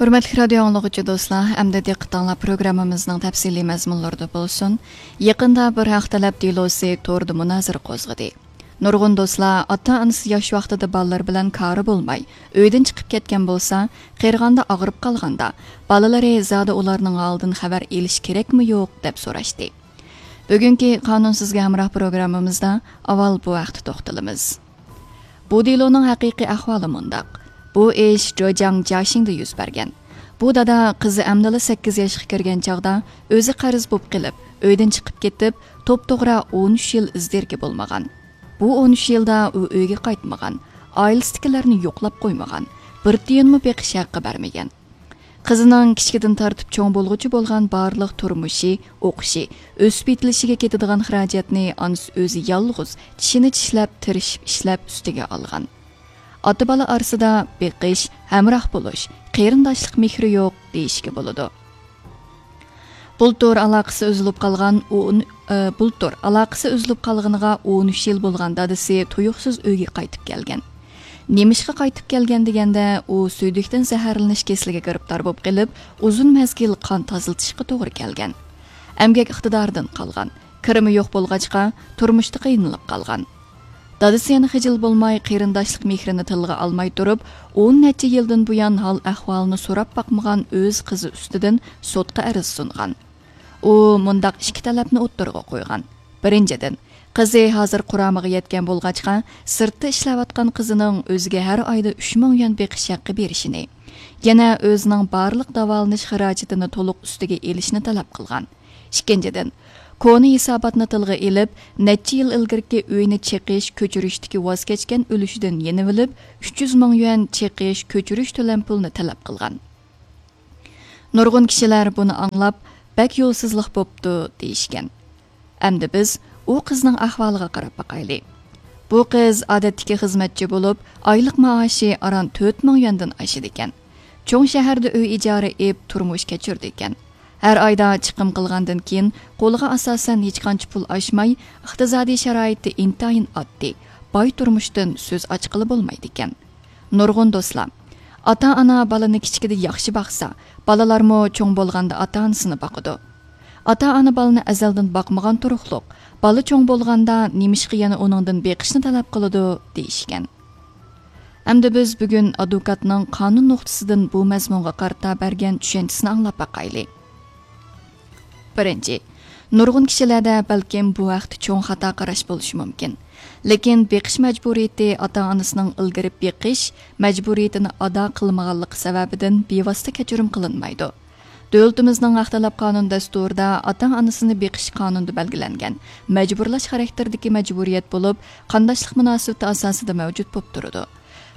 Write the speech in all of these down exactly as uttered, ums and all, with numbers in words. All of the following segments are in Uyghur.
ھۆرمەتلىك رادىيو ئاڭلىغۇچى دوستلار، ئەمدى دىققىتىڭلار پروگراممىمىزنىڭ تەپسىلىي مەزمۇنلىرىدا بولسۇن. يېقىندا بىر ھەق تەلەپ دېلوسى توردا مۇنازىرە قوزغىدى. نۇرغۇن دوستلار ئاتا-ئانىسى ياش ۋاقتىدا بالىلىرى بىلەن كارى بولماي، ئۆيدىن چىقىپ كەتكەن بولسا، قېرىغاندا، ئاغرىپ قالغاندا، بالىلىرى زادى ئۇلارنىڭ ھالىدىن خەۋەر ئېلىش كېرەكمۇ يوق، دەپ سوراشتى. بۈگۈنكى قانۇن سىزگە ھەمراھ پروگراممىمىزدا ئاۋۋال بۇ ھەقتە توختىلىمىز. بۇ دېلونىڭ ھەقىقىي ئەھۋالى مۇنداق. بۇ ئىش جوجياڭ جياشىڭدا يۈز بەرگەن. بۇ دادا قىزى ئەمدىلا سەككىز ياشقا كىرگەن چاغدا ئۆزى قەرز بوپ قېلىپ، ئۆيدىن چىقىپ كېتىپ، توپتوغرا ئون ئۈچ يىل ئىز دېرىكى بولمىغان. بۇ ئون ئۈچ يىلدا ئۇ ئۆيگە قايتمىغان، ئائىلىسىدىكىلەرنى يوقلاپ قويمىغان، بىر تىيىنمۇ بېقىش ھەققى بەرمىگەن. قىزىنىڭ كىچىكىدىن تارتىپ چوڭ بولغۇچە بولغان بارلىق تۇرمۇشى، ئوقۇشى، ئۆسۈپ يېتىلىشىگە كېتىدىغان خىراجەتنى ئانىسى ئۆزى يالغۇز چىشىنى چىشلەپ، تىرىشىپ ئىشلەپ ئۈستىگە ئالغان. ئاتا-بالا ئارىسىدا بېقىش، ھەمراھ بولۇش، قېرىنداشلىق مېھرى يوق دېيىشكە بولىدۇ. بۇلتۇر ئالاقىسى ئۈزۈلۈپ قالغان ئون، ئى، بۇلتۇر ئالاقىسى ئۈزۈلۈپ قالغىنىغا ئون ئۈچ يىل بولغان دادىسى تۇيۇقسىز ئۆيگە قايتىپ كەلگەن. نېمىشقا قايتىپ كەلگەن دېگەندە، ئۇ سۈيدۈكتىن زەھەرلىنىش كېسىلىگە گىرىپتار بولۇپ قېلىپ، ئۇزۇن مەزگىل قان تازىلىتىشقا توغرا كەلگەن. ئەمگەك ئىقتىدارىدىن قالغان، كىرىمى يوق بولغاچقا، تۇرمۇشتا قىينىلىپ قالغان. دادىسى يەنە خىجىل بولماي، قېرىنداشلىق مېھرىنى تىلغا ئالماي تۇرۇپ، ئون نەچچە يىلدىن بۇيان ھال-ئەھۋالىنى سوراپ باقمىغان ئۆز قىزى ئۈستىدىن سوتقا ئەرز سۇنغان. ئۇ مۇنداق ئىككى تەلەپنى ئوتتۇرىغا قويغان. بىرىنچىدىن، قىزى ھازىر قۇرامىغا يەتكەن بولغاچقا، سىرتتا ئىشلەۋاتقان قىزىنىڭ ئۆزىگە ھەر ئايدا ئۈچ مىڭ يۈەن بېقىش ھەققى بېرىشىنى، يەنە ئۆزىنىڭ بارلىق داۋالىنىش خىراجىتىنى تولۇق ئۈستىگە ئېلىشنى تەلەپ قىلغان. ئىككىنچىدىن، كونا ھېساباتنى تىلغا ئېلىپ، نەچچە يىل ئىلگىرىكى ئۆينى چېقىش، كۆچۈرۈشتىكى ۋاز كەچكەن ئۈلۈشىدىن يېنىۋېلىپ، ئۈچ يۈز مىڭ يۈەن چېقىش، كۆچۈرۈش تۆلەم پۇلىنى تەلەپ قىلغان. نۇرغۇن كىشىلەر بۇنى ئاڭلاپ، بەك يولسىزلىق بوپتۇ، دېيىشكەن. ئەمدى بىز ئۇ قىزنىڭ ئەھۋالىغا قاراپ باقايلى. بۇ قىز ئادەتتىكى خىزمەتچى بولۇپ، ئايلىق مائاشى ئاران تۆت مىڭ يۈەندىن ئاشىدىكەن. چوڭ شەھەردە ئۆي ئىجارە ئېپ، تۇرمۇش كەچۈرىدىكەن. ھەر ئايدا چىقىم قىلغاندىن كېيىن، قولىغا ئاساسەن ھېچقانچە پۇل ئاشماي، ئىقتىسادىي شارائىتى ئىنتايىن ئاددىي، باي تۇرمۇشتىن سۆز ئاچقىلى بولمايدىكەن. نۇرغۇن دوستلار، ئاتا-ئانا بالىنى كىچىكىدە ياخشى باقسا، بالىلارمۇ چوڭ بولغاندا ئاتا-ئانىسىنى باقىدۇ. ئاتا-ئانا بالىنى ئەزەلدىن باقمىغان تۇرۇقلۇق، بالا چوڭ بولغاندا نېمىشقا يەنە ئۇنىڭدىن بېقىشنى تەلەپ قىلىدۇ؟ دېيىشكەن. ئەمدى بىز بۈگۈن ئادۋوكاتنىڭ قانۇن نۇقتىسىدىن بۇ مەزمۇنغا قارىتا بەرگەن چۈشەنچىسىنى ئاڭلاپ باقايلى. بىرىنچى، نۇرغۇن كىشىلەردە بەلكىم بۇ ھەقتە چوڭ خاتا قاراش بولۇشى مۇمكىن. لېكىن بېقىش مەجبۇرىيىتى ئاتا-ئانىسىنىڭ ئىلگىرى بېقىش مەجبۇرىيىتىنى ئادا قىلمىغانلىقى سەۋەبىدىن بىۋاسىتە كەچۈرۈم قىلىنمايدۇ. دۆلىتىمىزنىڭ ھەق تەلەپ قانۇن دەستۇرىدا ئاتا-ئانىسىنى بېقىش قانۇندا بەلگىلەنگەن مەجبۇرلاش خاراكتېرىدىكى مەجبۇرىيەت بولۇپ، قانداشلىق مۇناسىۋىتى ئاساسىدا مەۋجۇت بولۇپ تۇرىدۇ.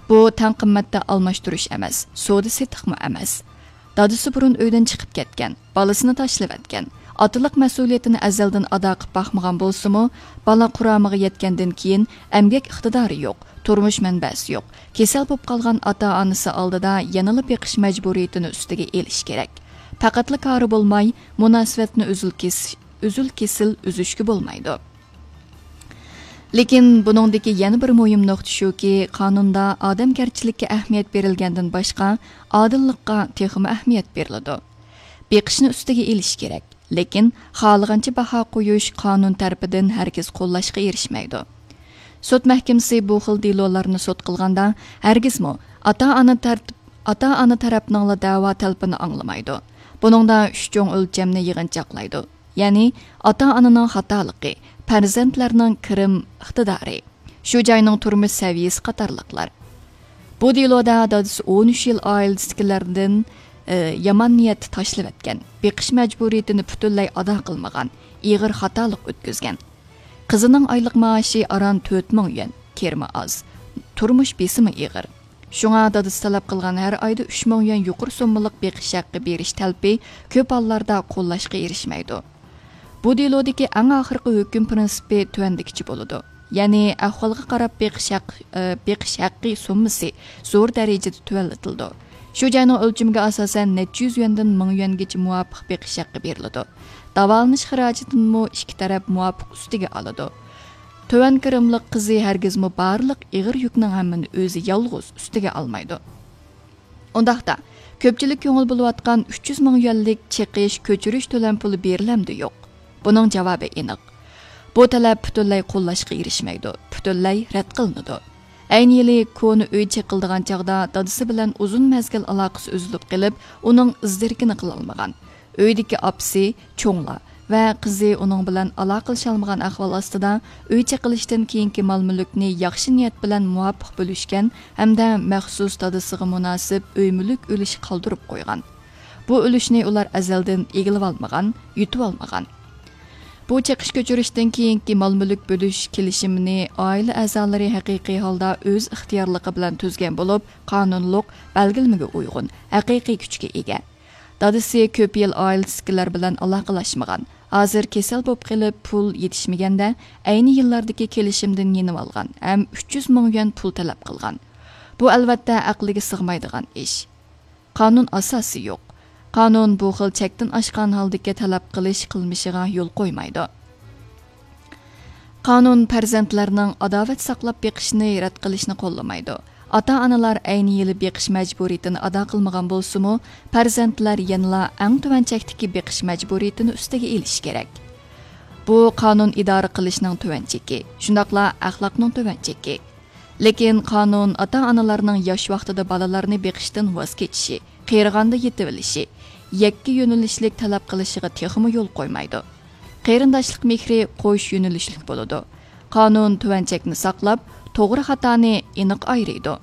بۇ تەڭ قىممەتتە ئالماشتۇرۇش ئەمەس، سودا-سېتىقمۇ ئەمەس. دادىسى بۇرۇن ئۆيدىن چىقىپ كەتكەن، بالىسىنى تاشلىۋەتكەن، ئاتىلىق مەسئۇلىيىتىنى ئەزەلدىن ئادا قىلىپ باقمىغان بولسىمۇ، بالا قۇرامىغا يەتكەندىن كېيىن ئەمگەك ئىقتىدارى يوق، تۇرمۇش مەنبەسى يوق، كېسەل بولۇپ قالغان ئاتا-ئانىسى ئالدىدا يەنىلا بېقىش مەجبۇرىيىتىنى ئۈستىگە ئېلىش كېرەك. پەقەتلا كارى بولماي، مۇناسىۋەتنى ئۈزۈل-كېس-، ئۈزۈل-كېسىل ئۈزۈشكە بولمايدۇ. لېكىن بۇنىڭدىكى يەنە بىر مۇھىم نۇقتا شۇكى، قانۇندا ئادەمگەرچىلىككە ئەھمىيەت بېرىلگەندىن باشقا، ئادىللىققا تېخىمۇ ئەھمىيەت بېرىلىدۇ. بېقىشنى ئۈستىگە ئېلىش كېرەك، لېكىن خالىغانچە باھا قويۇش قانۇن تەرىپىدىن ھەرگىز قوللاشقا ئېرىشمەيدۇ. سوت مەھكىمىسى بۇ خىل دېلولارنى سوت قىلغاندا، ھەرگىزمۇ ئاتا-ئانا تەرتىپ-، ئاتا-ئانا تەرەپنىڭلا دەۋا تەلىپىنى ئاڭلىمايدۇ. بۇنىڭدا ئۈچ چوڭ ئۆلچەمنى يىغىنچاقلايدۇ. يەنى ئاتا-ئانىنىڭ خاتالىقى، پەرزەنتلەرنىڭ كىرىم ئىقتىدارى، شۇ جاينىڭ تۇرمۇش سەۋىيىسى قاتارلىقلار. بۇ دېلودا دادىسى ئون ئۈچ يىل ئائىلىسىدىكىلەردىن، ئى، يامان نىيەتتە تاشلىۋەتكەن، بېقىش مەجبۇرىيىتىنى پۈتۈنلەي ئادا قىلمىغان، ئېغىر خاتالىق ئۆتكۈزگەن. قىزىنىڭ ئايلىق مائاشى ئاران تۆت مىڭ يۈەن، كىرىمى ئاز، تۇرمۇش بېسىمى ئېغىر. شۇڭا دادىسى تەلەپ قىلغان ھەر ئايدا ئۈچ مىڭ يۈەن يۇقىرى سوممىلىق بېقىش ھەققى بېرىش تەلىپى كۆپ ھاللاردا قوللاشقا ئېرىشمەيدۇ. بۇ دېلودىكى ئەڭ ئاخىرقى ھۆكۈم پىرىنسىپى تۆۋەندىكىچە بولىدۇ. يەنى ئەھۋالغا قاراپ بېقىش ھەق-، ئى، بېقىش ھەققى سوممىسى زور دەرىجىدە تۆۋەنلىتىلىدۇ. شۇ جاينىڭ ئۆلچىمىگە ئاساسەن نەچچە يۈز يۈەندىن مىڭ يۈەنگىچە مۇۋاپىق بېقىش ھەققى بېرىلىدۇ. داۋالىنىش خىراجىتىنىمۇ ئىككى تەرەپ مۇۋاپىق ئۈستىگە ئالىدۇ. تۆۋەن كىرىملىق قىزى ھەرگىزمۇ بارلىق ئېغىر يۈكنىڭ ھەممىنى ئۆزى يالغۇز ئۈستىگە ئالمايدۇ. ئۇنداقتا، كۆپچىلىك كۆڭۈل بۆلۈۋاتقان ئۈچ يۈز مىڭ يۈەنلىك چېقىش، كۆچۈرۈش تۆلەم پۇلى بېرىلەمدۇ يوق؟ بۇنىڭ جاۋابى ئېنىق. بۇ تەلەپ پۈتۈنلەي قوللاشقا ئېرىشمەيدۇ، پۈتۈنلەي رەت قىلىنىدۇ. ئەينى يىلى كونا ئۆي چېقىلىدىغان چاغدا دادىسى بىلەن ئۇزۇن مەزگىل ئالاقىسى ئۈزۈلۈپ قېلىپ، ئۇنىڭ ئىز-دېرىكىنى قىلالمىغان. ئۆيدىكى ئاپىسى، چوڭلار ۋە قىزى ئۇنىڭ بىلەن ئالاقىلىشالمىغان ئەھۋال ئاستىدا، ئۆي چېقىلىشتىن كېيىنكى مال-مۈلۈكنى ياخشى نىيەت بىلەن مۇۋاپىق بۆلۈشكەن ھەمدە مەخسۇس دادىسىغا مۇناسىپ ئۆي-مۈلۈك ئۈلۈشى قالدۇرۇپ قويغان. بۇ ئۈلۈشنى ئۇلار ئەزەلدىن ئىگىلىۋالمىغان، يۇتۇۋالمىغان. بۇ چېقىش-كۆچۈرۈشتىن كېيىنكى مال-مۈلۈك بۆلۈش كېلىشىمىنى ئائىلە ئەزالىرى ھەقىقىي ھالدا ئۆز ئىختىيارلىقى بىلەن تۈزگەن بولۇپ، قانۇنلۇق، بەلگىلىمىگە ئۇيغۇن، ھەقىقىي كۈچكە ئىگە. دادىسى كۆپ يىل ئائىلىسىدىكىلەر بىلەن ئالاقىلاشمىغان. ھازىر كېسەل بولۇپ قېلىپ، پۇل يېتىشمىگەندە، ئەينى يىللاردىكى كېلىشىمدىن يېنىۋالغان ھەم ئۈچ يۈز مىڭ يۈەن پۇل تەلەپ قىلغان. بۇ، ئەلۋەتتە، ئەقىلگە سىغمايدىغان ئىش. قانۇن ئاساسى يوق. قانۇن بۇ خىل چەكتىن ئاشقان ھالدىكى تەلەپ قىلىش قىلمىشىغا يول قويمايدۇ. قانۇن پەرزەنتلەرنىڭ ئاداۋەت ساقلاپ بېقىشنى رەت قىلىشنى قوللىمايدۇ. ئاتا-ئانىلار ئەينى يىلى بېقىش مەجبۇرىيىتىنى ئادا قىلمىغان بولسىمۇ، پەرزەنتلەر يەنىلا ئەڭ تۆۋەن چەكتىكى بېقىش مەجبۇرىيىتىنى ئۈستىگە ئېلىشى كېرەك. بۇ قانۇن ئىدارە قىلىشنىڭ تۆۋەن چېكى، شۇنداقلا ئەخلاقنىڭ تۆۋەن چېكى. لېكىن قانۇن ئاتا-ئانىلارنىڭ ياش ۋاقتىدا بالىلارنى بېقىشتىن ۋاز كېچىشى، قېرىغاندا يېتىۋېلىشى، يەككە يۆنىلىشلىك تەلەپ قىلىشىغا تېخىمۇ يول قويمايدۇ. قېرىنداشلىق مېھرى قوش يۆنىلىشلىك بولىدۇ. قانۇن تۆۋەن چەكنى ساقلاپ، توغرا خاتانى ئېنىق ئايرىيدۇ.